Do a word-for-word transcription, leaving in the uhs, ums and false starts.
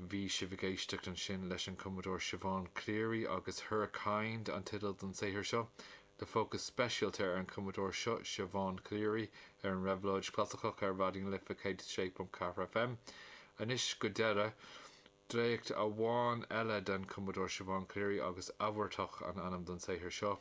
Bhí sibh ag éisteacht ansin leis an cumadóir Siobhán Cleary agus Her Kind an teideal don saothar seo. Le fócas speisialta ar an cumadóir seo Siobhán Cleary ar an Réabhlóid Chlasaiceach ar Raidió na Life céad sé ponc ceathair FM. Anois go deireadh, dréacht amháin eile den cumadóir Siobhán Cleary agus Abhartach an ainm don saothar seo.